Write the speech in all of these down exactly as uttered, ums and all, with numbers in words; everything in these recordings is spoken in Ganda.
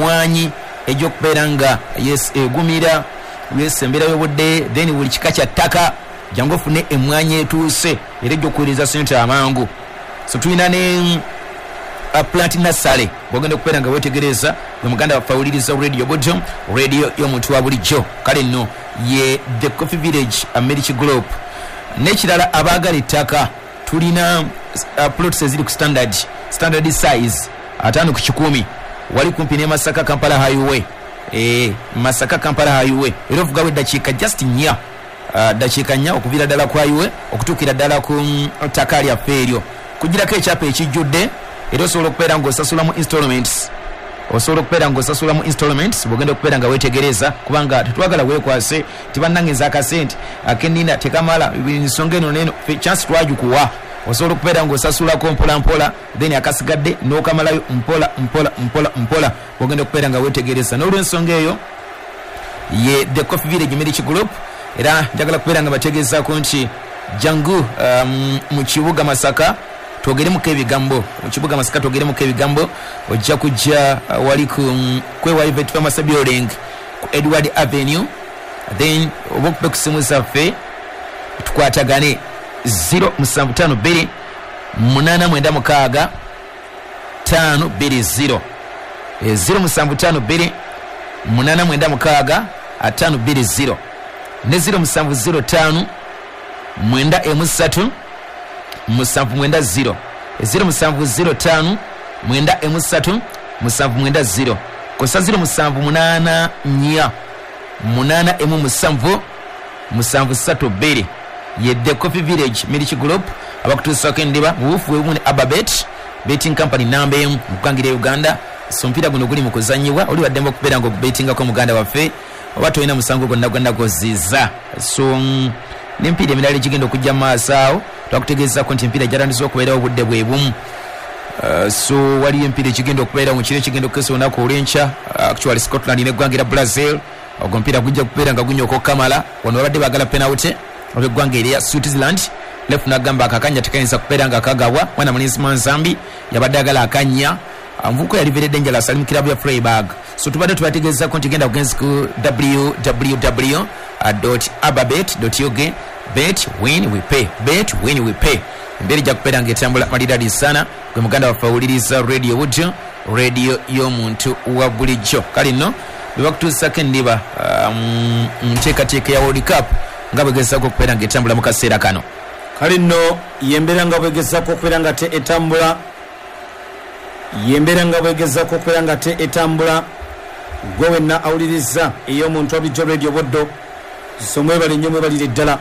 Emwanyi ej'okubeera nga yes egumira yes embeera y'obudde, then buli kika kya ttaka, jangu ofune emwanyi etuuse era ejja sente amangu. So tulina ne uh, plant nursery bwogenda okubeera nga wetegereza gwe muganda waffe awuliriza Radio Buddo, radio y'omuntu wa bulijjo. Kale nno ye The Coffee Village Milk Group. N'ekirala, abaagala ettaka, tulina uh, plots eziri ku standard standard size ataano ku kikumi, wali kumpi ne Masaka Kampala Highway, e, Masaka Kampala Highway, era ovugawo eddakiika just nnya, uh, dakiika nnya okuviira ddala ku highway okutuukira ddala ku mm, ttaka lyaffe eryo. Kugirako ekyapa ekijjudde, era osobola okubeera ng'osasula mu installments, osobola okubeera ng'osasula mu installments bwogenda okubeera nga weetegereza, kubanga tetwagala weekwase nti bannange nze akasente akenina tekamala, ensonga eno neno. Ffe chance twagikuwa, osobola okubeera ng'osasulako mpola mpola, then akasigadde n'okamalayo mpola mpola mpola mpola bwogenda okubeera nga weetegereza. N'olwensonga eyo ye The Coffee Village Milk Group. Era njagala kubeera nga bategeezaako nti jangu um, mu kibuga Masaka twogeremuko ebigambo, mu kibuga Masaka twogeremuko ebigambo. Ojja kujja uh, wali ku um, kwewa Pharmacy Building ku Edward Avenue, then oba okube ku simu zaffe tukwatagane zero seven five two eight nine six five two zero, zero seven five two eight nine six five two zero ne zero seven zero five mwenda emu ssatu musanvu mwenda zero, zero seven zero five mwenda emu ssatu musanvu mwenda zero, kosa zero seven eight four munaana emu musanvu musanvu ssatu bbiri. Ye The Coffee Village Milk Group abakutuusako endiba mu buufu bwe bumu ne Ababet betting company namba emu mu kukangira Uganda. So omupiira guno guli mu kuzanyibwa, oli waddembe okubeera nga ogubetingako muganda waffe, oba tolina musango gwonna gwonna gwoziza. So mm, n'emipiira emirala egigenda okujja mu maaso awo, twakutegeezako nti emipiira gyatandise okubeerawo obudde bwe bumu. Uh, so waliyo emipiira ekigenda okubeerawo mu kiro ekigenda okukesa olunaku olw'enkya, uh, actually Scotland neggwanga era Brazil. Ogwo omupiira gujja kubeera nga gunyoka okukamala. Wano babadde baagala penalty olw'eggwanga erya Switzerland, ref nagamba akakanya tekayinza kubeera nga kagabwa. Mwana mulenzi Manzambi yabadde agala akanya, omuvubuka yali very dangerous, ali mu kirabu ya Freiburg. So tubadde tubategeezako nti genda kugenzi ku w w w ababet ug, bet, win, we pay, bet, win, we pay. Embeera ejja kubeera nga etambula malidadi sana gwe muganda waffe awuliriza Radio Buddo, radio y'omuntu wa bulijjo. Kale nno bebakutuusako endiba um, nteekateeka ya World Cup nga bwegezaako okubeera nga etambula mu kaseera kano. Kale nno yembeera nga bwegezaako okubeera nga te etambula, yembeera nga bwegezaako okubeera nga te etambula. Gwe wenna awuliriza ey'omuntu abulijjo Radio Buddo, so mwebale nnyo, mwebalire ddala.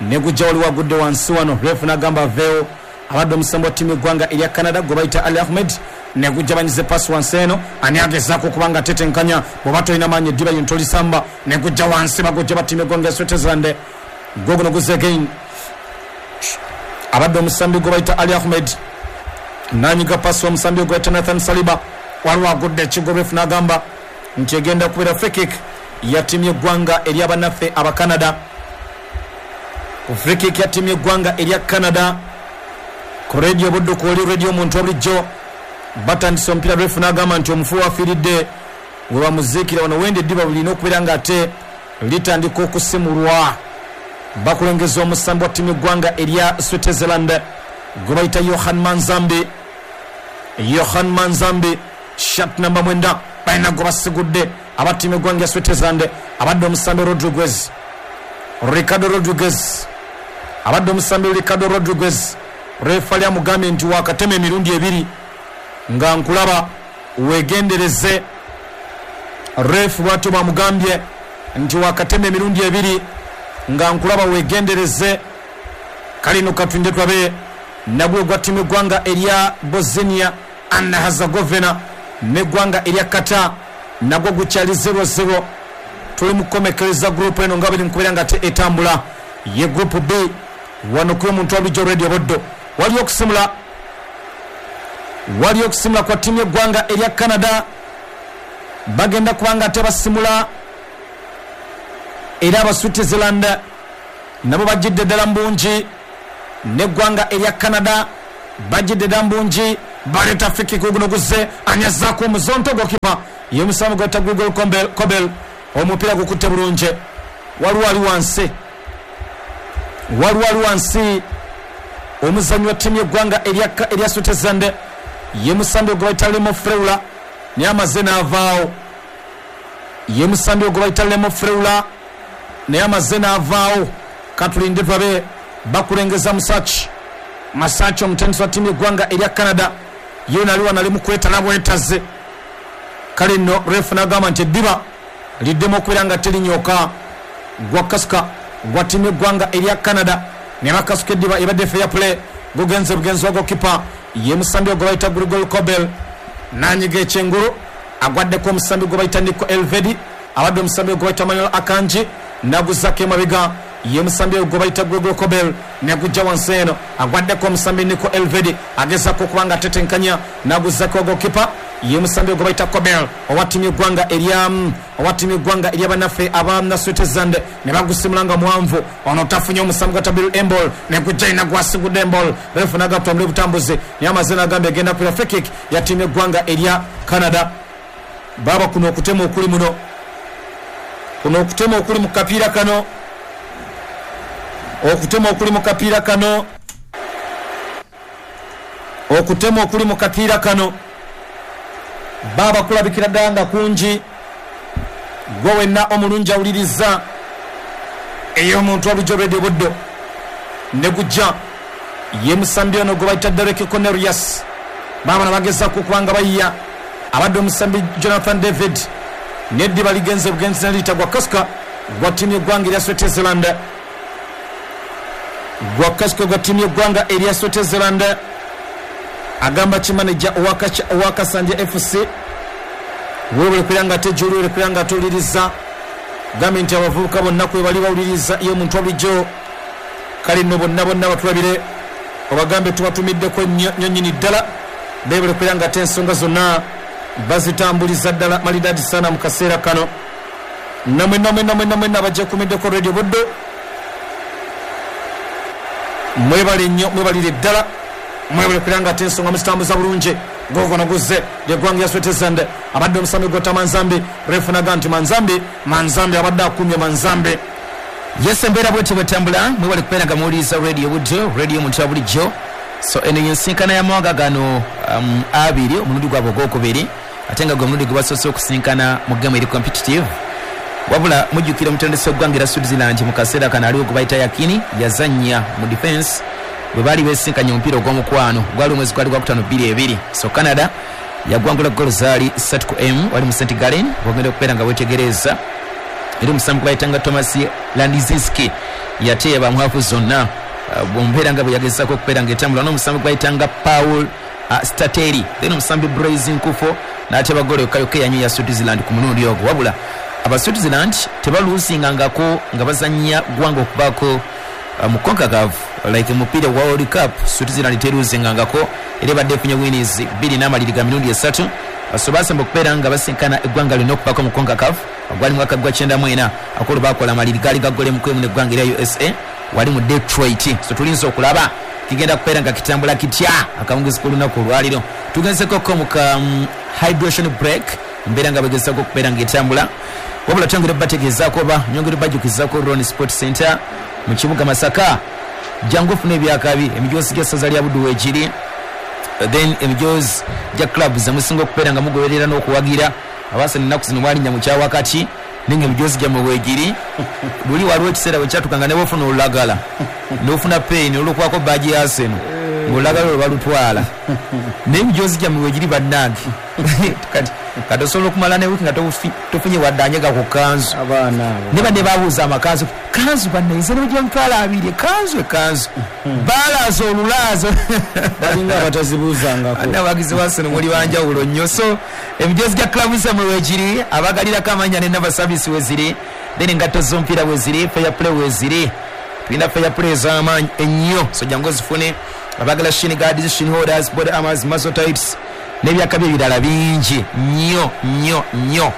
Negujja waliwo agudde wansi wano, ref n'agamba aveewo. Abadde omusambi wa ttiimu eggwanga erya Canada gwe bayita Ali Ahmed. Negujja banyize pasi wansi eno, ani agezaako okuba nga tetenkanya? Bw'oba tolina maanyi, eddiba lino tolisamba. Negujja wansi, bagujja ba ttiimu eggwanga ya Switzerland. Gwe guno guze again, abadde omusambi gwe bayita Ali Ahmed nanyiga pasi omusambi gwe bayita Nathan Saliba. Waliwo agudde ekigo, ref n'agamba nti egenda kubeera free kick ya ttiimu y'eggwanga eryabannaffe Abacanada, free kick ya ttiimu y'eggwanga erya Canada. Ku Radio Buddo kwoli, radio omuntu obulijjo. Batandise omupiira, ref n'agamba nti omufu wafiiridde we bamuziikira wano wende eddiba bulina okubeera nga ate litandika okusimulwa. Bakulengeza omusambi wa ttiimu y'eggwanga erya Switzerland gwe bayita Johan Manzambi, Johan Manzambi, shirt namba mwenda. Balina gwe basigudde aba ttiimu y'eggwanga ya Switzerland, abadde omusambi Rodriguez, Ricardo Rodriguez, abadde omusambi Ricardo Rodriguez. Refali amugambye nti wakatema emirundi ebiri nga nkulaba, wegendereze. Ref bwatyo bamugambye nti wakatema emirundi ebiri nga nkulaba, wegendereze. Kalino katulinde tulabe nagwe gwa ttiimu eggwanga erya Bosnia and Herzegovina neggwanga erya Qatar, nagwo gukyali zero zero. Tuli mukukomekereza group eno nga buli mukubeera nga te etambula, ye Group B wano kuyo omuntu wabulijjo Radio Buddo. Waliyo okusimula, waliyo okusimula kwa ttiimu y'eggwanga erya Canada. Bagenda kubanga ate basimula, era aba Switzerland nabo bajjidde ddala mu bungi, n'eggwanga erya Canada bajjidde ddala mu bungi. Baleta free kick guno guze anyazaako omuzonto gokipa ye musamu gwata Google Kobel Kobel omupiira gukutte bulungi. Waliwo ali wansi, waliwo ali wansi omuzannyi wa ttiimu y'eggwanga erya Switzerland ye musambi gwe bayita Remo Freuler naye amaze n'avaawo. Ye musambi gwe bayita Remo Freuler naye amaze n'avaawo. Katulinde tulabe bakulengeza Musachi. Masachi omutendesi wa ttiimu y'eggwanga erya Canada ye nali wano ali mu kwetala bwetaze. Kale nno refu n'agamba nti eddiba liddemu okubeera nga terinyooka. Gwa kasuka gwa ttiimu y'eggwanga erya Canada ne bakasuka eddiba ebadde fair play gugenze bugenzi wa gokipa ye musambi gwe bayita Grigol Kobel nanyiga ekyengulu agwaddeko omusambi gwe bayita Nico Elvedi abadde omusambi gwe bayita Manuel Akanji naguzzako emabega ye musambi gwe bayita Grigol Kobel negujja wansi eno agwaddeko omusambi Nico Elvedi agezaako okuba nga atetenkanya naguzzako wa gokipa ye musambi gwe bayita Kobel owa ttiimu y'eggwanga erya owa ttiimu y'eggwanga erya bannaffe aba Switzerland ne bagusimula nga muwanvu. Ono tafunye omusambi gwa Tabiru Embol negujja ina gwasigudde Embol refu n'agatambula obutambuzi naye amaze n'agamba egenda kubeera free kick ya ttiimu y'eggwanga erya Canada. Baaba kuno okutema okuli muno, kuno okutema okuli mu kapiira kano, okutema okuli mu kapiira kano, okutema okuli mu kapiira kano baaba kulabikira ddala nga kungi. Gwe wenna omulungi awuliriza ey'omuntu olujja olwedde buddo ne gujja ye musambi ono gwe bayita Derek Cornelius. Baaba nabagezaako okuba nga bayiya abadde omusambi Jonathan David neddiba ligenze bugenzi naliyita gwa kasuka gwa ttiimu y'eggwanga erya Switzerland, gwa kasuka gwa ttiimu y'eggwanga erya Switzerland. Agamba kimaneja owa Kasanje F C weebale kubeera nga ate gy'oli, weebale kubeera nga towuliriza. Gambye nti abavubuka bonna kwe bali bawuliriza ye omuntu bulijjo. Kale nno bonna bonna batulabire obagambe tubatumiddeko nnyo nnyini ddala. Beebale kubeera nga ate ensonga zonna bazitambuliza ddala malidadi sana mu kaseera kano. Namwe namwe namwe namwe abajja kumiddeko Radio Buddo mwebale nnyo, mwebalire ddala, mwebale kubeera nga ate ensonga muzitambuza bulungi. Gogono guzze ly'eggwanga lya Switzerland abadde omusambi gw'otta Manzambi refu naga nti Manzambi Manzambi abadde akumye Manzambi. Yes, embeera bwetyo bwetambula. Mwebale kubeera nga muwuliriza Radio Buddo, radio omuntu wa bulijjo. So eno yensinkana y'amawanga gano um, abiri omulundi gwabwe ogwokubiri ate nga gwe omulundi gwe basoose okusinkana mu game eri competitive. Wabula mujjukira omutendesi w'eggwanga erya Switzerland mu kaseera kano aliwo gwe bayita Yakini yazannya mu defense bwe baali beesinkanye omupiira ogw'omukwano gwali omwezi gwali gwakutaano bbiri ebiri. So Canada yagwangula ggoolo zaali ssatu ku emu wali mu Saint Gallen bwogenda okubeera nga weetegereza. Era omusambi gwe bayitanga Thomas Landizinski yateeba mu hafu zonna bw'ombeera nga bwe yagezaako okubeera ng'etambula n'omusambi gwe bayitanga Paul uh, Stateri then omusambi Blaise Nkufo n'ateeba ggoolo yokka yokka eyanyo ya Switzerland ku mulundi ogwo. Wabula aba Switzerland tebaluusingangako nga bazannya ggwanga okubaako mu CONCACAF like mupiira gwa World Cup. Switzerland teruuzingangako era ebadde efunye winnings bbiri n'amaliri ga mirundi esatu. So basemba okubeera nga basinkana eggwanga lino okubaako mu CONCACAF gwali mwaka gwa kyenda mu ena akolo baakola amaliri gaali ga ggolo emu ku emu n'eggwanga erya U S A wali mu Detroit. So tulinza okulaba kigenda kubeera nga kitambula kitya akawungeezi k'olunaku olwaliro. Tugenzekoko mu ka um, hydration break embeera nga begezaako okubeera ng'etambula. Wabula twongere bategeezaako oba nyongere bajjukizaako Ron Sport Center mu kibuga Masaka. Jangu ofune ebyakabi emijoozi gy'essaza lya Buddu weegiri, then emijoozi gya clubs emusinga okubeera nga mugoberera n'okuwagira. Abaasana ennaku zino mwalinnya mu kyawakati naye nga emijoozi gyammwe weegiri. Luli waliwo ekiseera bwe kyatukanga ne bw'ofuna olulagala n'ofuna peeni olw'okubaako baagi ya Arsenal ng'olulagala olwo balutwala, naye emijoozi gyammwe weegiri bannange. Kati kati osobola okumala ne wiiki nga tofunye wadde anyega ku kanzu. Ne banne babuuza amakanzu, kanzu banne nze ne bwe mitwalo abiri ekanzu ekanzu balaaza olulaazo balinga abatazibuuzangako. Abawagizi ba Arsenal muli banjawulo nnyo. So emijoozi gya club zammwe weegiri, abagalirako amannya ne nava service weeziri, then engatto z'omupiira weeziri, fair play weeziri. Tulina fair play ez'amaanyi ennyo, so jangu ozifune. Abagala shin guards, shin holders, body armors, muscle tights n'ebyakabi ebirala bingi nnyo nnyo nnyo.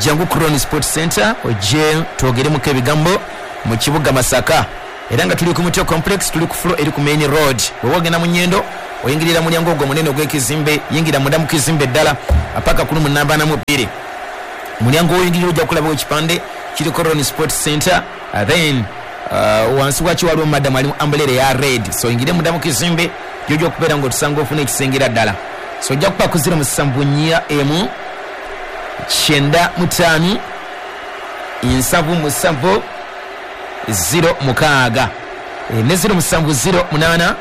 Jangu Crown Sport Center ojje twogeremuko ebigambo mu kibuga Masaka. Era nga tuli ku Mutio Complex, tuli ku floor eri ku main road. Bw'oba ogenda mu Nyendo, oyingirira mulyango ogwo munene ogw'ekizimbe, yingira munda mu kizimbe ddala paka ku lumu namba na mu bbiri. Mulyango oyingirira ojja kulabawo ekipande kiriko Ron Sports Center, uh, then uh, wansi wakyo waliwo madamu alimu umbrella ya red. So oyingire munda mu kizimbe gy'ojja okubeera ng'otusanga ofuna ekisengera ddala. So ojja kuba ku zero musanvu nnya emu kyenda mutaano nsanvu musanvu zero mukaaga e, ne zero musanvu zero munaana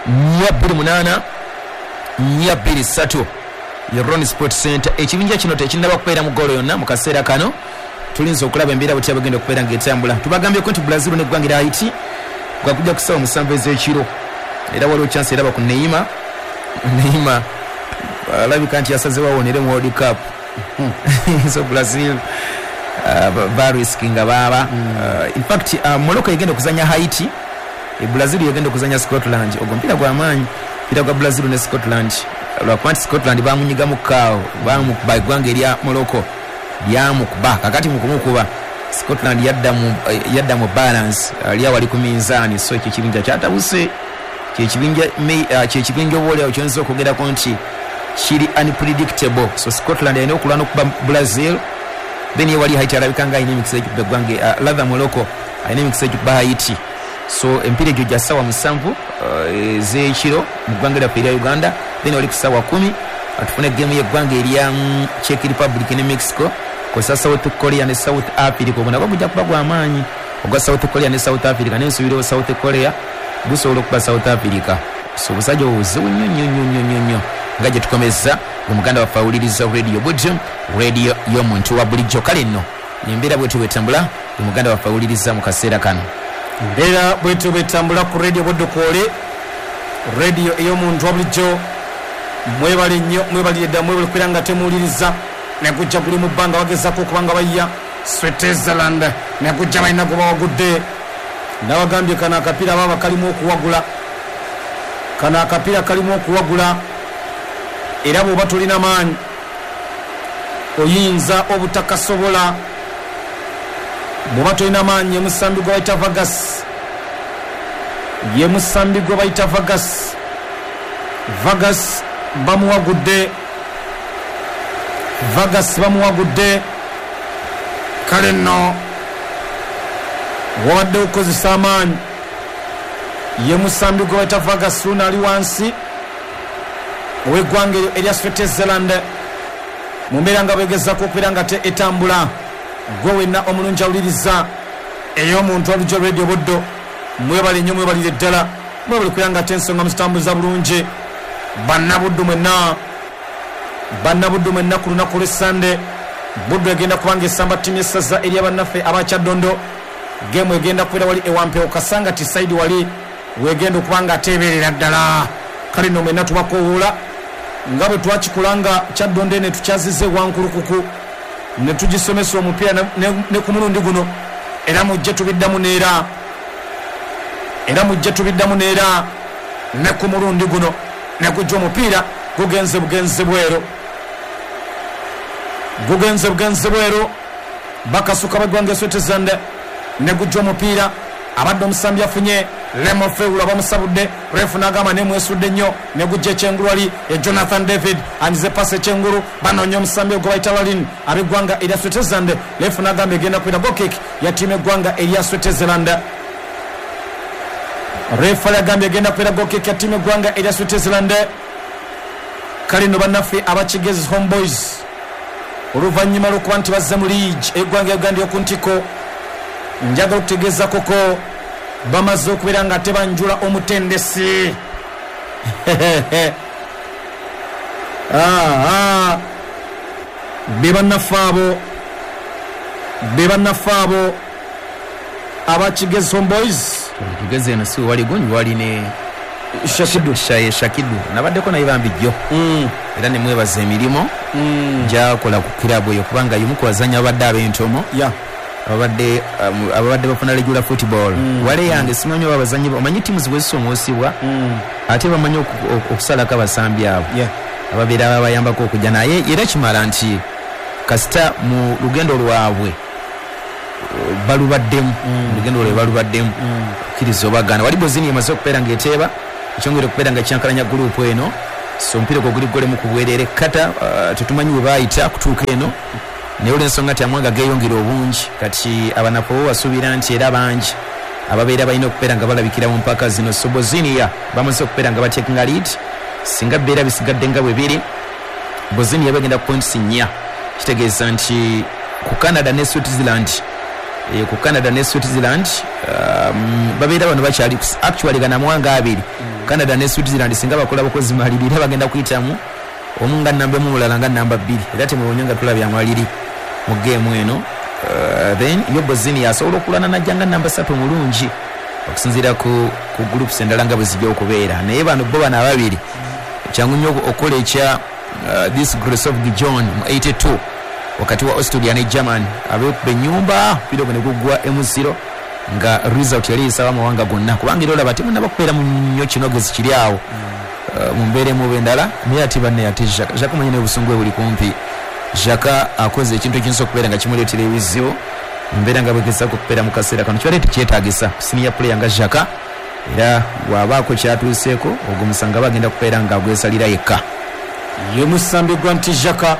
nnya bbiri munaana nnya bbiri ssatu. Ye Ron Sports Center. Ekibinja kino tekinnaba kubeera mu ggoolo yonna mu kaseera kano. Tulinza okulaba embeera butya bagenda okubeera ng'etambula. Tubagambyeko nti Brazil n'eggwanga erya Haiti gwakujja ku ssaawa musanvu ez'ekiro. Era waliwo chance eraba ku Neymar. Neymar alabika nti yasazeewo awonere mu World Cup. So Brazil uh, bariskinga baaba. Uh, in fact uh, Morocco egenda okuzanya Haiti, e Brazil egenda okuzanya Scotland. Ogwo mpira gwa maanyi, mpira gwa Brazil ne Scotland. Lwakuba nti Scotland bamunyigamu kaawo, bamukuba eggwanga erya Morocco lyamukuba. Kakati mu kumukuba Scotland yadda mu yadda mu balance, ali wali ku minzaani. So ekyo ekibinja kyatabuse, kyekibinja kyekibinja oboolyawo kyoyinza okwogerako nti kiri unpredictable. So Scotland alina okulwana okuba Brazil, then ye wali Haiti alabika nga alina emikisa egikuba eggwanga, uh, rather Morocco alina emikisa egikuba Haiti. So empiira egyo gya ssaawa musanvu ez'ekiro uh, mu ggwanga lyaffe erya Uganda. Then wali ku ssaawa kumi atufune gemu y'eggwanga erya mm, Czech Republic ne Mexico, kw'ossa South Korea ne South Africa. Ogwo nagwo gujja kuba gwa maanyi ogwa South Korea ne South Africa, n'ensuubira South Korea gusobola okuba South Africa. So obusajja obuzibu nnyo nnyo nnyo nnyo nnyo nnyo. Nga gye tukomeza omuganda waffe awuliriza Radio Buddu, radio y'omuntu wa bulijjo. Kale nno embeera bwetyo bwetambula, omuganda waffe awuliriza mu kaseera kano. Embeera bwetyo bwetambula ku Radio Buddu kwole, radio ey'omuntu wa bulijjo. Mwebale nnyo, mwebalire ddala, mwebale kubeera nga temuwuliriza. Negujja guli mu bbanga, bagezaako okuba nga bayiya Switzerland, negujja balina gwe bawagudde. Nabagambye kano akapiira baaba kalimu okuwagula, kano akapiira kalimu okuwagula. Era bw'oba tolina maanyi oyinza obutakasobola. Bw'oba tolina maanyi, ye musambi gwe bayita Vargas, ye musambi gwe bayita Vargas. Vargas bamuwagudde, Vargas bamuwagudde. Kale nno wabadde okukozesa amaanyi, ye musambi gwe bayita Vargas luno ali wansi ow'eggwanga eryo erya Switzerland. Mu mbeera nga bwegezaako okubeera nga te etambula. Gwe wenna omulungi awuliriza ey'omuntu olujja Radio Buddu, mwebale nnyo, mwebalire ddala, mwebale kubeera nga te ensonga muzitambuza bulungi. Bannabuddu mwenna, bannabuddu mwenna ku lunaku lw'Essande Buddu egenda kubanga esamba ttiimu y'essaza erya bannaffe abakyaddondo. Geemu egenda kubeera wali ewampewo Kasanga ti saidi wali wegenda okuba nga ateeberera ddala. Kale nno mwenna tubakoowoola nga bwe twakikola nga Kyaddondo ne tukyaziza ewankulukuku ne tugisomesa omupiira ne, ne, ne ku mulundi guno. Era mujje tubiddamu neera, era mujje tubiddamu neera ne ku mulundi guno. Ne gujja omupiira gugenze bugenze bweru, gugenze bugenze bweru. Bakasuka baggwanga Switzerland, ne gujja omupiira abadde omusambi afunye Lemo Feula bamusabudde, refu n'agamba nemwesudde nnyo. Ne gujja ekyengulu wali e Jonathan David anyize pasi ekyengulu, banoonya omusambi ogwe bayita Lalin ab'eggwanga erya Switzerland. Refu n'agamba egenda kubeera goal kick ya ttiimu eggwanga erya Switzerland. Refu agambye egenda kubeera goal kick ya ttiimu eggwanga erya Switzerland. Kale nno bannaffe abakigezi Homeboys oluvannyuma lw'okuba nti bazze mu liigi eggwanga Uganda ey'oku ntikko, njagala okutegeeza koko bamaze okubeera nga tebanjula omutendesi. Ah, be bannaffe abo, be bannaffe abo abakigezi Homeboys. Kigezi eno si wali gungi, wali ne Shakidu, Shakidu nabaddeko naye bambi jjo mm. era ne mwebaza emirimu mm. gyakola ku kirabu eyo, kubanga y'omu ku bazannyi abadde ab'entomo yeah. abadde um, abadde bafuna regular football mm. wale yange simanyi oba abazannyi omanyi ttiimu zibwezisomosibwa mm. ate bamanyi okusalako abasambi abo yeah. ababeera babayambako okujja, naye era kimala nti kasita mu lugendo lwabwe Balubaddemu olugendo lwe balubaddemu kkiriza obagaana. Wali Bosnia emaze okubeera ng'eteeba, ekyongera okubeera nga kyankalanya gurupu eno. So omupiira gwo guli golemu ku bwereere. Kata uh, tetumanyi we baayita kutuuka eno, naye olw'ensonga nti amawanga geeyongera obungi, kati abanafu bo basuubira nti era bangi ababeera balina okubeera nga balabikira mu mpaka zino. So Bosnia bamaze okubeera nga batekinga lead. Singa bibeera bisigadde nga bwe biri, Bosnia bagenda ku points nnya, kitegeeza nti ku Canada ne Switzerland, eh, ku Canada ne Switzerland um, babeera bano bakyali actually gana amawanga abiri, Canada ne Switzerland, singa bakola bakozi maliri era bagenda kuyitamu omu nga namba emu, omulala nga namba bbiri, era temwewuunya nga tulabye amaliri mu geemu eno. Uh, then yo Bosnia asobola okulwana najja nga namba ssatu omulungi okusinziira ku, ku groups endala nga bwe zijja okubeera. Naye bano bo bano ababiri kyangu nnyo okukola ekya uh, this Grace of Gijon mu eighty-two wakati wa Austria ne German, abeekuba ennyumba omupiira ogwo ne guggwa emu zero, nga result yali esaba amawanga gonna, kubanga era olaba temunnaba kubeera mu nnyo kinogezi kiri awo uh, mu mbeera emu oba endala. Naye ate banne, ate Xhaka, Xhaka omanyi n'obusungu bwe buli kumpi. Xhaka akoze ekintu ekiyinza okubeera nga kimuleetera ebizibu mu mbeera nga bwegezaako okubeera mu kaseera kano. Kibadde tekyetaagisa senior player nga Xhaka, era bw'abaako kyatuuseeko ogwo musango aba agenda kubeera nga agwesalira yekka. Ye musambi gwa nti Xhaka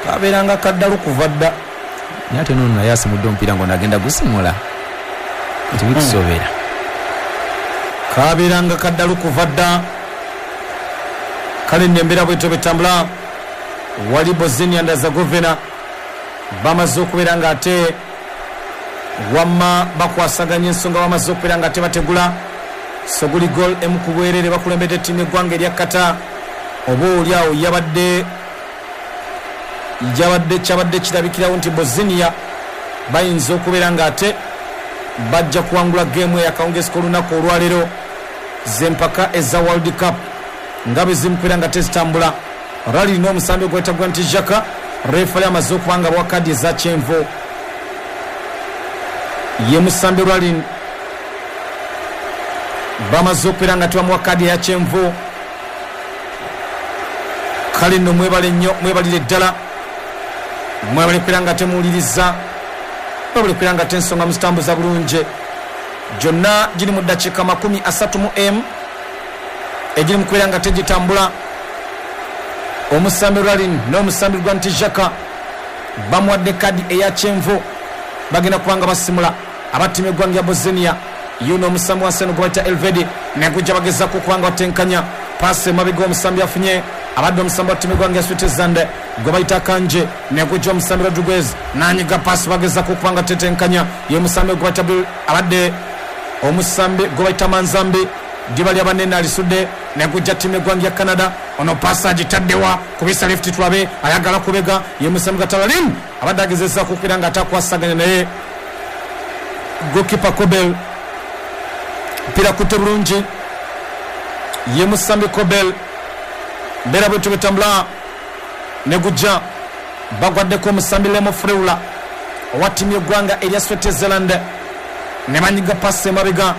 kabeeranga kaddalu kuva dda. Naye ate noono naye asimudde omupiira ng'ono agenda gusimula, tebikusoobera. Kabeeranga kaddalu kuva dda. Kale nno embeera bwetyo betambula. Wali Bosnia and Herzegovina bamaze okubeera nga ate wamma bakwasaganya ensonga, bamaze okubeera nga ate bategula. So guli goal emu ku bwerere, bakulembedde ttiimu eggwanga erya Qatar. Oba oli awo yabadde yabadde kyabadde kirabikirawo nti Bosnia bayinza okubeera nga ate bajja kuwangula geemu eyakawungezi k'olunaku olwaleero z'empaka eza World Cup nga bwe zimukubeera nga tezitambula. Rali n'omusambi ogwayita gwa nti Xhaka, refali amaze okuba nga bawa kadi eza kyenvu. Ye musambi Ralin bamaze okubeera nga tebamuwa kadi eya kyenvu. Kale nno mwebale nnyo, mwebalire ddala, mwebale kubeera nga temuwuliriza, mwebale kubeera nga tensonga muzitambuza bulungi. Gyonna giri mu ddakiika makumi asatu mu emu egiri mu kubeera nga tegitambula. Omusambi Ralin n'omusambi gwa nti Xhaka bamuwadde kadi eya kyenvu, bagenda kuba nga basimula abattimu eggwanga ya Bosnia. Yuno omusambi wansi eno gwe bayita Elvedi, negujja bagezaako okuba nga batenkanya paasi emabega, omusambi afunye abadde omusambi wa ttiimu eggwanga ya Switzerland gwe bayita Kanje, negujja omusambi Rodriguez nanyiga paasi, bagezaako okuba nga tetenkanya. Ye musambi gwe bayita abadde omusambi gwe bayita Manzambi, ddiba lya banene alisudde, negujja ttiimu eggwanga ya Canada. Ono paasi agitaddewa kubisa left, tulabe ayagala kubega. Ye musambi Gatalalim abadde agezezaako okubeera nga atakwasaganya, naye goalkeeper Kobel mpira kutte bulungi. Ye musambi Kobel, mbeera bwetyo betambula. Negujja bagwaddeko omusambi Lemo Freula owa ttiimu y'eggwanga erya Switzerland, ne banyiga paasi emabega.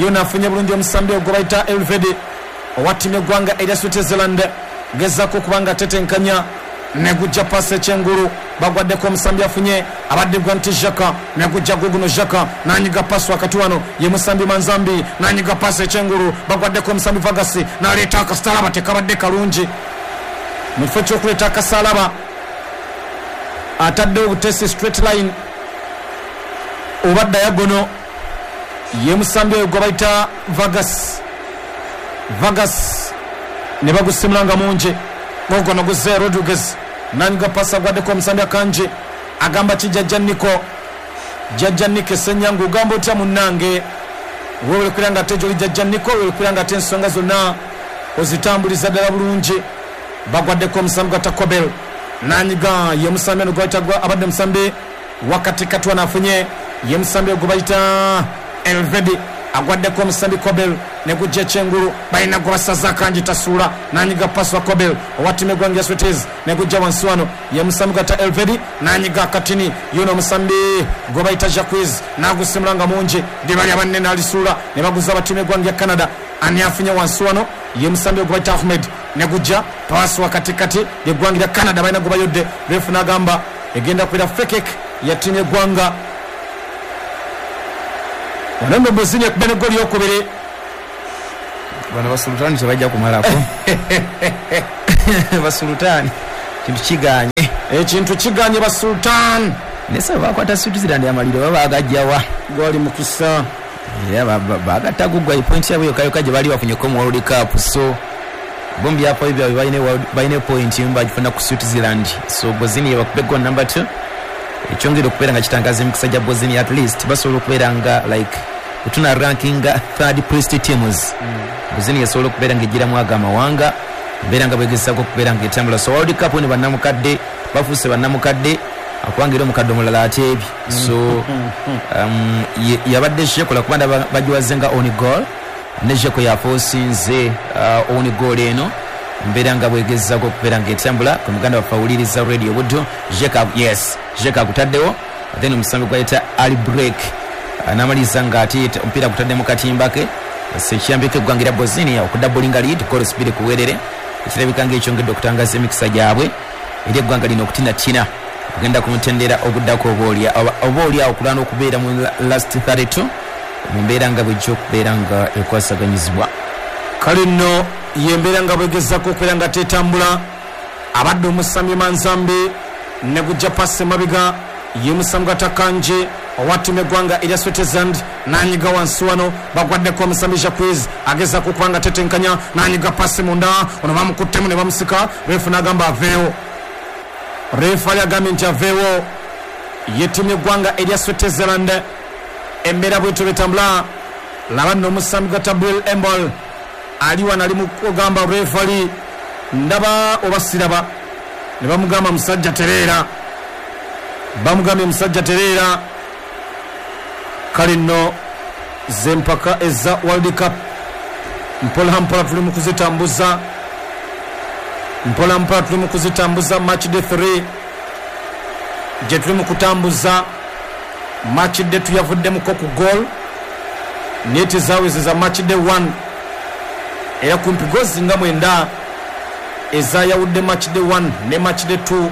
Yona afunye bulungi omusambi ogwo bayita Elvedi owa ttiimu y'eggwanga erya Switzerland, gezaako okuba nga atetenkanya, negujja paasi ekyengulu, bagwaddeko omusambi afunye abadde gwa nti Xhaka, negujja guguno Xhaka nanyiga paasi wakati wano. Ye musambi Manzambi nanyiga paasi ekyengulu, bagwaddeko omusambi Vagasi naleeta akasalaba, tekabadde kalungi. Mu kifo ky'okuleeta akasalaba ataddewo butesi straight line oba diagonal. Ye musambi oyo gwe bayita Vagas, Vagas ne bagusimula nga mungi. Gogono guze Rodriguez nanyiga paasi, agwaddeko omusambi Akanje. Agamba ki jjajja Niko? Jjajja Niko Essenyangu, ogamba otya munnange? Weewale kubeera nga ate gyoli jjajja Niko, weewale kubeera nga ate ensonga zonna ozitambuliza ddala bulungi. Bagwaddeko omusambi gwa Takobel nanyiga. Ye musambi ono gwe bayita abadde musambi wakatikati wano afunye, ye musambi gwe bayita Elvedi, agwaddeko omusambi Kobel, negujja ekyengulu, balina gwe basaza akangi tasuula, nanyiga pasi wa Kobel owa ttiimu eggwanga ya Switzerland, negujja wansi wano. Ye musambi gwata Elvedi nanyiga akatini, yuno omusambi gwe bayita Jacques nagusimula nga mungi, ddiba lya banne n'alisuula, ne baguza abattiimu eggwanga ya Canada. Ani afunye wansi wano? Ye musambi gwe bayita Ahmed, negujja pasi wakatikati yeggwanga lya Canada, balina gwe bayodde. Refu n'agamba egenda kubeera free kick ya ttiimu y'eggwanga. Wano Bosnia ekubye n'eggoli eyokubiri. Bano basulutaani tebajja kumalako. Basulutaani kintu kiganye, ekintu kiganye basultan. Naye bakwata Switzerland amaliro baba bagajjawa gwali mukisa era bagatta gugwa point yabwe yokka yokka gye bali bafunyeko mu World Cup. So bombi yapo ebyo balina balina point emu bagifuna ku Switzerland. So Bosnia bakube goal number two ekyongera okubeera nga kitangaza emikisa gya Bosnia, at least basobola okubeera nga like otuna ranking third place teams. Bosnia esobola okubeera nga egiramu ago amawanga mbeera nga bwegezaako okubeera nga etambula. So World Cup eno bannamukadde bafuuse bannamukadde akubanga era omukadde omulala ateebye. So um, yabadde Shekola kuba ndaba bagiwaze nga on goal ne Sheko yafosinze uh, on goal eno mbeera nga bwegezaako okubeera nga etambula. Ku muganda waffe awuliriza radio Buddo Sheka, yes Sheka akutaddewo, then omusambi gwayita Ali Break n'amaliriza nga ate omupiira gutadde mu katimba ke. Ekiyambeko eggwanga erya Bosnia okudabulinga lead goals bbiri ku bwerere, ekirabika ng'ekyongedde okutangaza emikisa gyabwe eri eggwanga lino okutinatina okugenda ku mutendera oguddako oba oli awo okulwana okubeera mu last thirty-two mu mbeera nga bwejja okubeera nga ekwasaganyizibwa. Kale nno yembeera nga bwegezaako okubeera nga tetambula. Abadde omusambi Manzambi ne gujja pasi emabega ye musambi Gwatakanje owa ttiimu y'eggwanga erya Switzerland n'anyiga wansi wano, bagwaddeko omusambi Jacques agezaako okuba nga tetenkanya n'anyiga pasi munda, ono bamukuttemu ne bamusika. Refu n'agamba aveewo, refu ali agambye nti aveewo. Ye ttiimu y'eggwanga erya Switzerland embeera bwetyo betambula. Laba nno omusambi Gatabril Embol ali wano ali mu kugamba refu ali ndaba oba siraba, ne bamugamba musajja tereera, bamugambye musajja tereera. Kale nno zempaka eza World Cup mpola mpola tuli mu kuzitambuza, mpola mpola tuli mu kuzitambuza. Match day three gye tuli mu kutambuza. Match day two yavuddemuko ku goal naye tezaawezeza match day one, era kumpi gozi nga mwenda ezayawudde match day one ne match day two,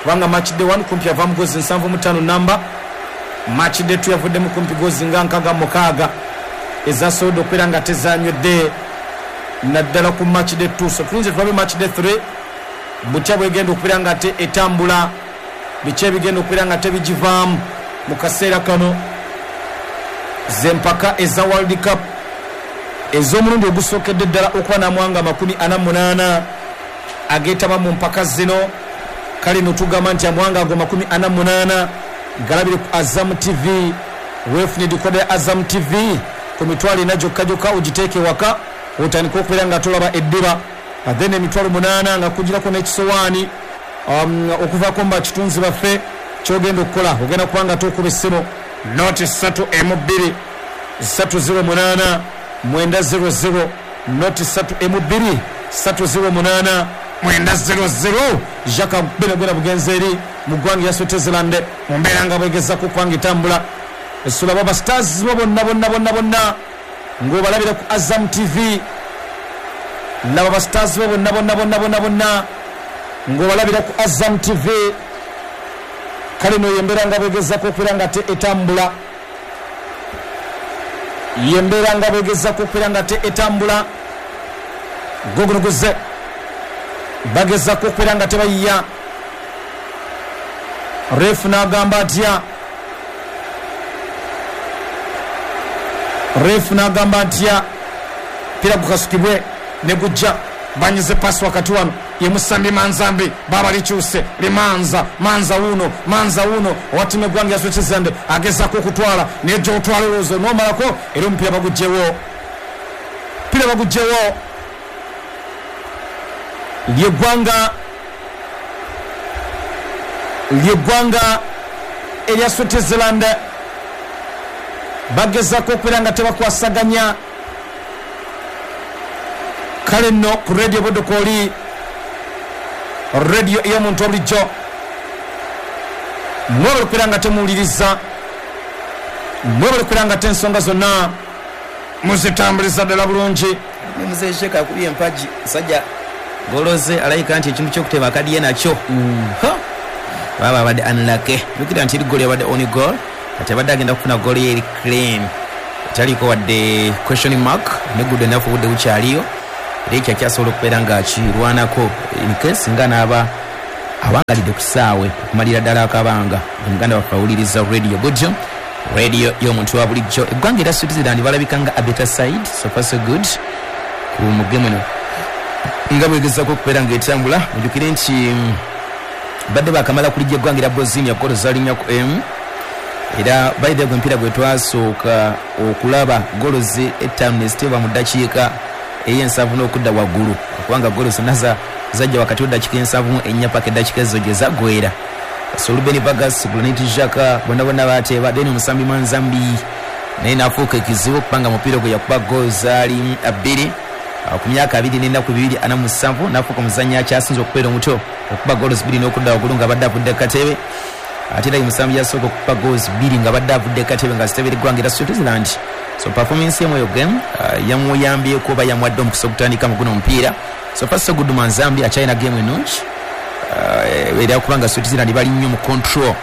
kubanga match day one kumpi yavaamu gozi nsanvu mu ttaano namba, match day two yavuddemu kumpi gozi nga nkaaga mukaaga ezasobodde okubeera nga tezanywedde naddala ku match day two. So tuyinza tulabe match day three butya bwegenda okubeera nga te etambula, biki ebigenda okubeera nga tebigivaamu mu kaseera kano. Zempaka eza World Cup ez'omulundi ogusookedde ddala okuba n'amawanga makumi ana munaana ageetaba mu mpaka zino. Kale no tugamba nti amawanga ago makumi ana munaana galabire ku Azam T V. Weefune decoder ya Azam T V ku mitwalo ena gyokka gyokka ogiteeke waka otandike okubeera nga tolaba eddiba, then emitwalo munaana nga kugirako n'ekisowaani um, okuvaako mu bakitunzi baffe. Kyogenda okukola ogenda kuba nga tokuba essimu noti ssatu emu bbiri ssatu zero munaana mwenda zero zero noti ssatu emu bbiri ssatu zero munaana mwenda zero zero. Jacques Benegwena bugenzi eri mu ggwanga erya Switzerland mu mbeera nga bwegezaako okuba nga etambula. Esula baba stars bo bonna bonna bonna bonna ng'obalabira ku Azam T V. Laba ba stars bo bonna bonna bonna bonna bonna ng'obalabira ku Azam T V. Kale no yembeera nga bwegezaako okubeera nga te etambula, yembeera nga bwegezaako okubeera nga te etambula. Gogunuguze bagezaako okubeera nga tebayiya. Refu n'agamba atya, refu n'agamba atya, pira gukasukibwe ne gujja. Banyize pasi wakati wano ye musambi Manzambi, baba likyuse limanza manza wuno manza wuno owa ttiimu y'eggwanga ya Switzerland agezaako okutwala naye gy'otwala olowooza n'omalako era omupiira baguggyewo, omupiira baguggyewo. Lyeggwanga lyeggwanga erya Switzerland bagezaako okubeera nga tebakwasaganya. Kale nno ku radio Buddo radio ey'omuntu obulijjo mwebale okubeera nga temuwuliriza, mwebale okubeera nga tensonga zonna muzitambuliza ddala bulungi. Ne Mzee Sheka akubye empagi musajja goloze alayika nti ekintu ky'okuteba akadiye nakyo. Mm. Ha! Baba abadde unlucky. Jjukira nti eri goal yabadde on goal, kati abadde agenda kufuna goal ye eri clean, etaliko wadde question mark. Ne good enough, obudde bukyaliyo, era ekyo akyasobola okubeera nga akirwanako in case nga n'aba awangalidde ku ssaawe okumalira ddala akabanga. Omuganda waffe awuliriza Radio Bujo, radio y'omuntu wa bulijjo. Eggwanga era Switzerland balabika nga a better side, so far so good ku mugemu eno nga bwegezako okubeera ng'etambula. Mujjukire nti mm, badde bakamala kulijja eggwanga era Bosnia golo zalinnya ku emu, era by the way omupiira gwe twasooka okulaba golo ze ettaano neziteebwa mu ddakiika ey'ensanvu n'okudda waggulu, kubanga golo zonna za- zajja wakati w'eddakiika ensanvu mu ennya paka eddakiika ezo gye zaggwera. So Ruben Vargas, Granit Xhaka bonna bonna bateeba, then omusambi Manzambi naye n'afuuka ekizibu kubanga mupiira gwe yakuba golo zaali bbiri ku myaka abiri n'ennaku bibiri ana mu musanvu, n'afuuka omuzannyi akyasinze okubeera omuto okuba golo bbiri n'okudda waggulu nga badde avudde katebe. Ate era ye musambi yasooka okukuba goals bbiri nga badde avudde katebe nga zitebera eggwanga era Switzerland. So performance emu eyo game uh, yamuyambyeko oba yamuwadde omukisa ogutandika mu guno omupiira. So far so good, Manzambi akyalina game ennungi uh, era kubanga Switzerland bali nnyo mu control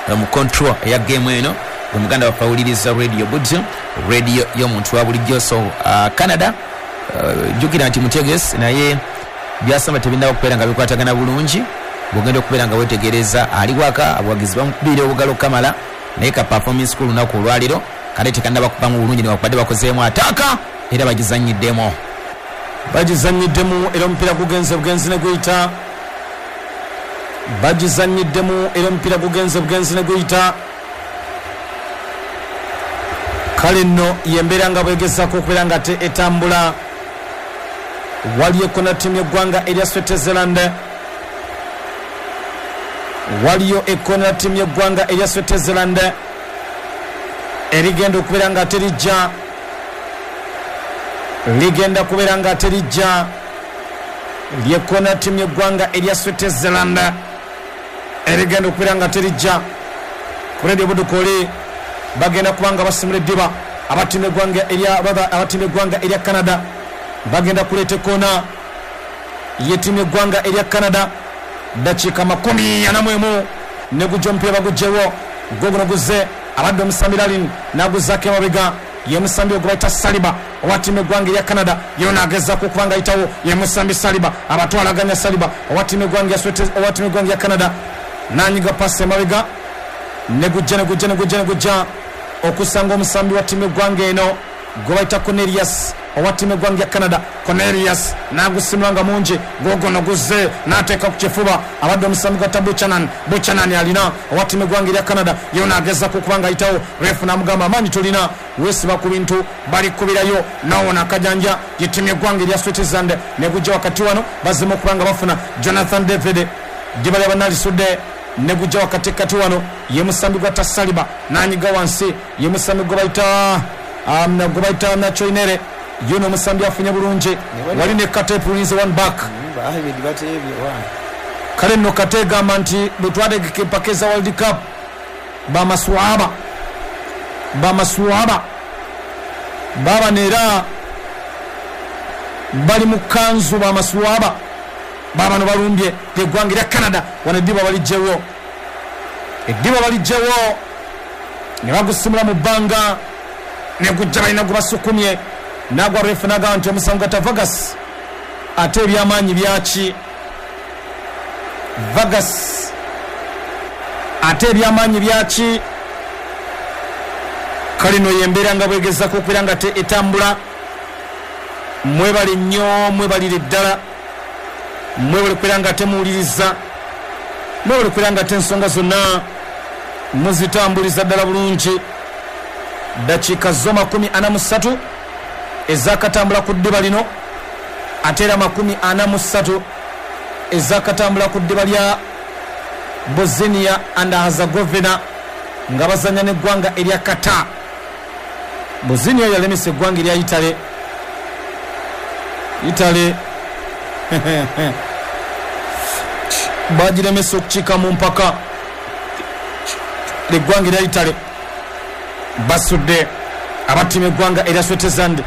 uh, mu control eya game eno. Omuganda waffe awuliriza Radio Bujo, radio y'omuntu wa bulijjo. So uh, Canada, jjukira uh, nti mutegesi, naye byasamba tebinnaba kubeera nga bikwatagana bulungi. Bwogenda okubeera nga wetegereza ali waka, abawagizi bamukubira obugalo kamala, naye ka performance ku lunaku olwaliro kale tekannaba kubamu bulungi, newakubadde bakozeemu ataaka era bagizanyiddemu. Bagizanyiddemu era omupiira gugenze bugenzi ne guyita. Bagizanyiddemu era omupiira gugenze bugenzi ne guyita. Kale nno yembeera nga bwegezaako okubeera nga te etambula. Waliyo ekona ttiimu y'eggwanga erya Switzerland, waliyo ekona ttiimu y'eggwanga erya Switzerland erigenda okubeera nga terijja, ligenda kubeera nga terijja. Lyekona ttiimu y'eggwanga erya Switzerland erigenda okubeera nga terijja. Ku Radio Budukoli bagenda kubanga basimula eddiba abattiimu eggwanga erya abattiimu eggwanga erya Canada bagenda kuleeta ekkoona y'ettiimu y'eggwanga erya Canada. Dakiika makumi ana mu emu ne gujja omupiira bagugyewo, gwo guno guzze abadde omusambi Lalin n'aguzzaako emabega, ye musambi ogwe bayita Saliba owa ttiimu eggwanga erya Canada. Yo n'agezaako okuba nga ayitawo, ye musambi Saliba abatwalaganya. Saliba owa ttiimu eggwanga owa ttiimu eggwanga erya Canada n'anyiga pasi emabega ne gujja ne gujja ne gujja ne gujja okusanga omusambi wa ttiimu eggwanga eno gwe bayita Cornelius owa ttiimu eggwanga ya Canada. Cornelius n'agusimula nga mungi, gwogono guzze n'ateeka ku kifuba abadde omusambi gwa Buchanan. Buchanan alina owa ttiimu eggwanga erya Canada, yo n'agezaako okuba nga ayitawo. Refu n'amugamba amaanyi tolina, weesiba ku bintu balikubirayo nawona akajanja. Ye ttiimu eggwanga erya Switzerland ne gujja wakati wano bazemu okuba nga bafuna Jonathan David, ddiba lya bannalisudde ne gujja wakati kati wano ye musambi gwa Tasaliba n'anyiga wansi, ye musambi gwe bayita um, gwe bayita Nachoinere. Yuno omusambi afunye bulungi, wali ne Kate Pulinze one back. Kale nno Kate egamba nti bwe twategeka empaka eza World Cup bamaswaba bamaswaba babano era bali mu kanzu, bamaswaba babano balumbye eggwanga erya Canada. Wano eddiba baligyewo, eddiba baligyewo ne bagusimula mu bbanga ne gujja balina gwe basukumye nagwa. Refu n'agamba nti omusango gwa Vargas, ate ebyamaanyi byaki Vargas, ate ebyamaanyi byaki. Kale nno yembeera nga bwegezaako okubeera nga te etambula. Mwebale nnyo, mwebalire ddala, mwebale kubeera nga temuwuliriza, mwebale kubeera nga te ensonga zonna muzitambuliza ddala bulungi. Dakiika zo makumi ana mu ssatu ezakatambula ku ddiba lino, ate era makumi ana mu ssatu ezakatambula ku ddiba lya Bosnia and Herzegovina nga bazanya n'eggwanga erya Qatar. Bosnia yalemesa eggwanga erya Italy. Italy bagiremesa okukiika mu mpaka. Eggwanga erya Italy basudde abattiimu eggwanga erya Switzerland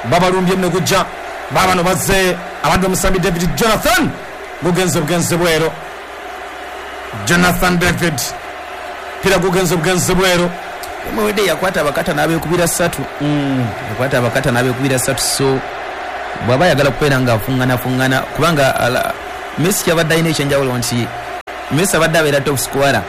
babalumbye ne gujja. Babano bazze abadde omusambi David Jonathan, gugenze bugenze bwero. Jonathan David pira gugenze bugenze bwero. Mwede yakwata abakata n'abeekubira ssatu. Mm. Yakwata abakata n'abeekubira ssatu, so bw'aba ayagala kubeera nga afungana fungana, kubanga ala, Messi kyabadde alina ekyenjawulo nti Messi abadde abeera top scorer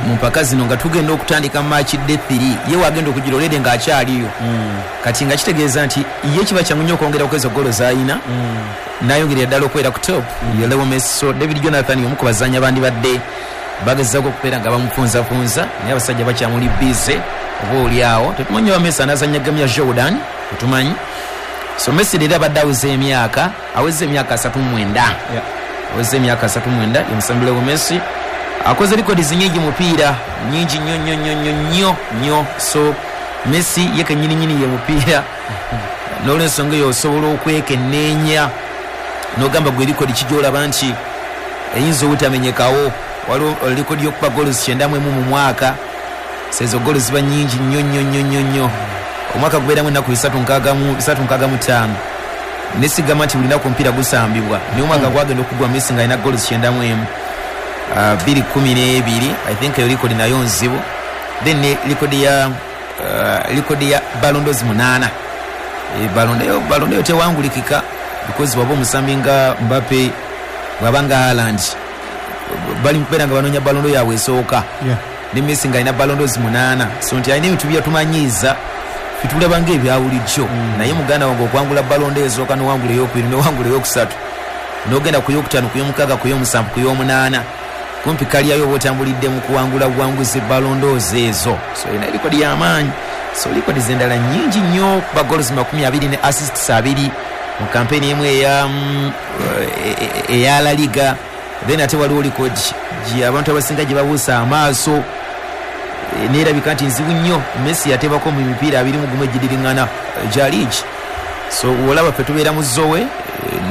mu mpaka zino nga tugenda okutandika match day three, ye wagenda okugira olede ng'akyaliyo. Mm. Kati nga kitegeeza nti ye kiba kyangu nnyo okwongera okweza golo z'alina, mm. n'ayongerera ddala okubeera ku top. Mm. Ye Leo Messi. So David Jonathan omu ku bazanyi abandibadde bagezaako okubeera nga bamufunzafunza, naye abasajja bakyamuli bize oba oli awo tetumanyi oba Messi anaazannya game ya Jordan, tetumanyi. So Messi leero abadde aweza emyaka aweza emyaka asatu mu mwenda, yeah. Aweza emyaka asatu mu mwenda ye musambi Leo Messi. Akoze records nyingi mupiira nyingi nnyo nnyo nnyo nnyo nnyo nnyo. So Messi ye kennyini nnyini ye mupiira, n'olwensonga eyo osobola okwekenneenya n'ogamba gwe record ki gy'olaba nti eyinza obutamenyekawo. Waliwo record y'okuba goals kyenda mu emu mu mwaka, sezo goals ziba nyingi nnyo nnyo nnyo nnyo nnyo. Omwaka gubeeramu ennaku bisatu nkaaga mu bisatu nkaaga mu ttaano, nesigamba nti buli lunaku omupiira gusambibwa, naye omwaka gwagenda okugwa Messi ng'alina goals kyenda mu emu, bbiri kumi n'ebiri. I think eyo record nayo nzibu. Then ne record ya uh, record ya Ballon d'Or munaana. E, Ballon d'Or Ballon d'Or tewangulikika because bw'aba omusambi nga Mbappe, bw'aba nga Haaland, bali mukubeera nga banoonya Ballon d'Or yaabwe esooka. Yeah. Ne Messi ng'alina Ballon d'Or munaana, so nti alina ebintu byatumanyiiza fitulaba ng'ebya bulijjo. Mm. Naye muganda wange okwangula Ballon d'Or esooka n'owangula eyokubiri n'owangula eyokusatu n'ogenda ku yokutaano, ku yomukaaga, ku yomusanvu, ku yomunaana, kumpi kalyayo oba otambulidde mu kuwangula buwanguzi Ballon d'Or ezo. So erina record y'amaanyi. So record z'endala nnyingi nnyo, kuba goals makumi abiri ne assists abiri mu kampeni emu eya mm, eya La Liga. Then ate waliwo record gye abantu abasinga gye babuusa amaaso, e, neerabika nti nzibu nnyo. Messi yateebako mu mipiira abiri mu gumu egidiriŋŋana gya league. So olaba ffe tubeera mu zowe, e,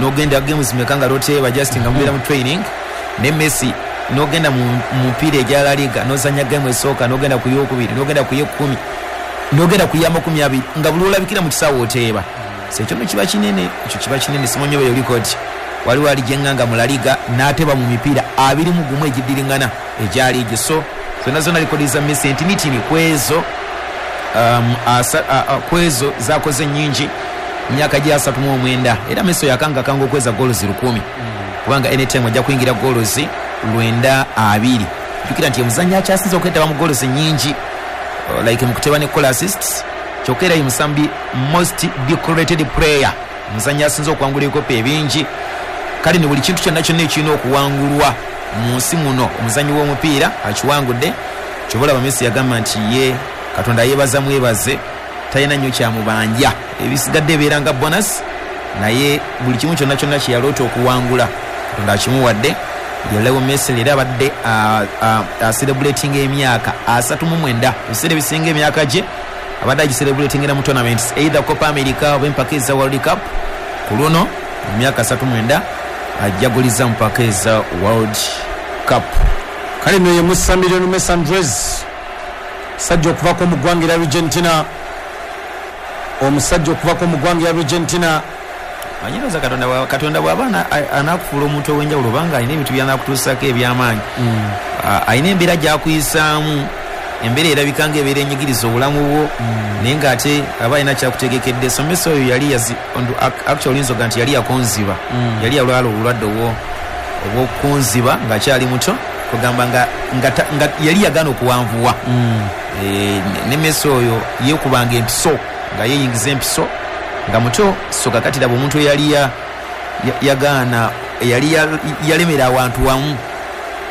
n'ogenda games meka nga toteeba, just nga mubeera mu training. Ne Messi n'ogenda mu mupiira egya La Liga n'ozannya game esooka, n'ogenda ku yokubiri, n'ogenda ku y'ekkumi, n'ogenda ku y'amakumi abiri, nga buli olabikira mu kisaawe oteeba. So ekyo nno kiba kinene, ekyo kiba kinene. Simanyi oba eyo record waliwo ali gyeŋŋanga mu La Liga n'ateeba mu mipiira abiri mu gumu egidiriŋŋana egya liigi. So zonna zonna record za Messi entinitini kwezo, um, asa, a, a, kwezo zakoze nnyingi myaka gye asatu mu omwenda. Era Messi yakangakanga okweza goals lukumi, kubanga anytime ajja kuyingira goals lwenda abiri. Jjukira nti omuzannyi akyasinze okwetaba mu goals nnyingi like mu kuteba ne goal assists, kyokka era ye musambi most decorated player, omuzannyi asinze okuwangula ebikopo ebingi. Kale ne buli kintu kyonna kyonna ekirina okuwangulwa mu nsi muno omuzannyi w'omupiira akiwangudde. Kyova olaba Messi yagamba nti ye Katonda yeebaza mwebaze, talina nnyo kyamubanja, ebisigadde ebeera nga bonus, naye buli kimu kyonna kyonna kye yaloota okuwangula Katonda akimuwadde. Ye Leo Messi leero abadde acelebrating emyaka asatu mu mwenda, ebiseera ebisinga emyaka gye abadde agicelebratingira mu tournaments, either Copa America oba empaka eza World Cup. Ku luno mu myaka asatu mu mwenda ajaguliza mpaka eza World Cup. Kale nno ye musambi Lionel Messi Andres, sajja okuvako mu ggwanga erya Argentina, omusajja okuvako mu ggwanga erya Argentina. Manyiroza Katonda bwa- Katonda bw'aba ana- a- anaakufuula omuntu ow'enjawulo, obanga alina ebintu by'anaakutuusaako eby'amaanyi, Mm. alina embeera gy'akuyisaamu, embeera erabika ng'ebeera enyigiriza obulamu bwo, naye ng'ate aba alina kyakutegekedde. So Messi oyo yali yazi ondu- ac- actually oyinza oga nti yali yakonziba, Mm. yali yalwala obulwadde obwo obw'okukonziba ng'akyali muto, kugamba nga, nga, ta- nga yali yagaana okuwanvuwa. Mm. E, ne Messi oyo yeekubanga empiso, nga yeeyingiza empiso nga muto. So kakati laba omuntu eyali ya- ya- yagaana, eyali ya- yalemera awantu wamu,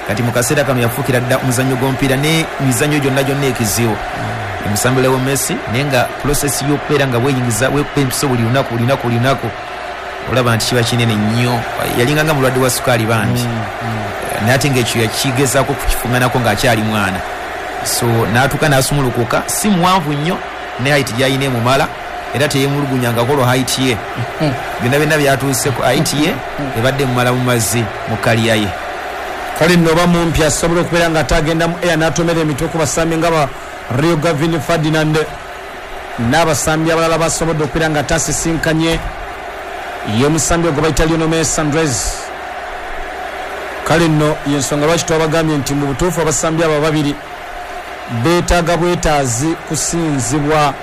kati mu kaseera kano yafuukira dda omuzannyo gw'omupiira ne mizannyo gyonna gyonna ekizibu. Omusambi Leo Messi, naye nga process y'okubeera nga weeyingiza weekuba empiso buli lunaku buli lunaku buli lunaku, olaba nti kiba kinene nnyo. Yalinga nga mulwadde wa sukaali bambi, naye ate ng'ekyo yakigezaako kukifuŋŋanako ng'akyali mwana. So n'atuuka n'asumulukuka, si muwanvu nnyo ne height gy'alina emumala, era teyemulugunyangako olwa height ye. Byonna byonna byatuuseko height ye ebadde emumala mu mazzi mu kaliya ye. Kale nno oba mumpi asobola okubeera nga ate agenda mu air n'atomera emitwe ku basambi nga ba Rio Gavin Ferdinand n'abasambi abalala basobodde okubeera nga ate asisinkanye. Ye musambi ogwo bayita Lionel Messi Andres. Kale nno yensonga lwaki twabagambye nti mu butuufu abasambi abo babiri beetaaga bwetaazi kusinzibwa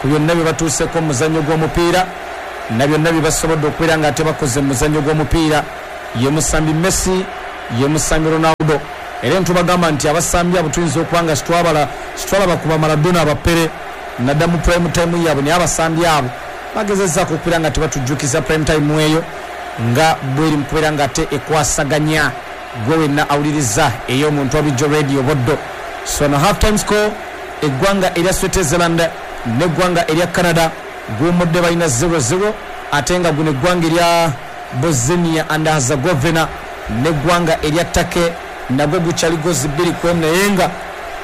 ku byonna bye batuuseko mu muzannyo gw'omupiira na byonna bye basobodde okubeera nga ate bakoze mu muzannyo gw'omupiira. Ye musambi Messi, ye musambi Ronaldo. Era ntubagamba nti abasambi abo tuyinza okuba nga sitwabala sitwalaba kuba Maradona abapere nadda mu prime time yaabwe, naye abasambi abo bagezezaako okubeera nga tebatujjukiza prime time eyo nga bweri mu kubeera nga ate ekwasaganya gwe wenna awuliriza ey'omuntu wabijjo Radio Boddo. So no half time score, eggwanga erya Switzerland n'eggwanga erya Canada guwummudde balina zero zero, ate nga guno eggwanga erya Bosnia and Herzegovina n'eggwanga erya Turkey nagwo gukyali gozi bbiri ku emu, naye nga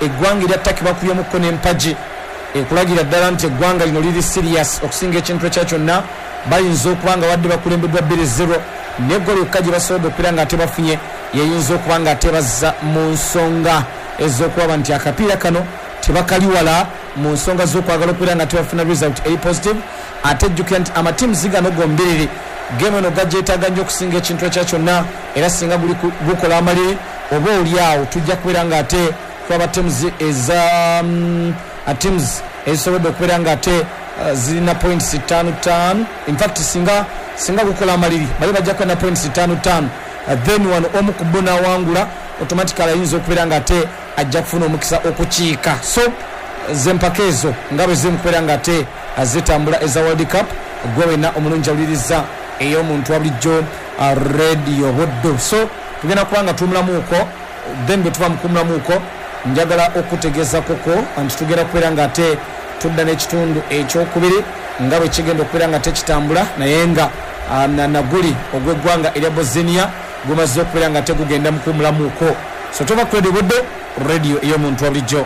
eggwanga erya Turkey bakubyemukko n'empagi ekulagira ddala nti eggwanga lino liri serious okusinga ekintu ekya kyonna. Bayinza okuba nga wadde bakulembeddwa bbiri zero, n'eggolo yokka gye basobodde okubeera nga ate bafunye yeyinza okuba nga ate bazza mu nsonga ez'okulaba nti akapiira kano tebakaliwala mu nsonga z'okwagala okubeera nga tebafuna result eri positive. Ate jjukira nti amatiimu gano gombiriri game eno gagyetaaga nnyo okusinga ekintu ekya kyonna, era singa guli gukola amaliri oba oli awo tujja kubeera nga ate twaba teams eza um, teams ezisobodde okubeera nga ate uh, zirina points ttaano ttaano. In fact singa singa gukola amaliri bali bajja kuba na points ttaano ttaano, uh, then wano omu ku bo n'awangula automatically ayinza okubeera nga ate ajja kufuna omukisa okukiika. So zempaka ezo nga bwe ziri mu kubeera nga ate zitambula eza World Cup, gwe wenna omulungi awuliriza ey'omuntu wa bulijjo Radio Buddo. So tugenda kuba nga tuwumulamuuko, then bwe tuva mu kuwumulamuuko njagala okutegeeza koko nti tugenda kubeera nga ate tudda n'ekitundu ekyokubiri nga bwe kigenda okubeera nga tekitambula, naye nga naguli ogw'eggwanga erya Bosnia gumaze okubeera nga tegugenda mu kuwumulamuuko. So tuva ku Radio Buddo, radio ey'omuntu wa bulijjo.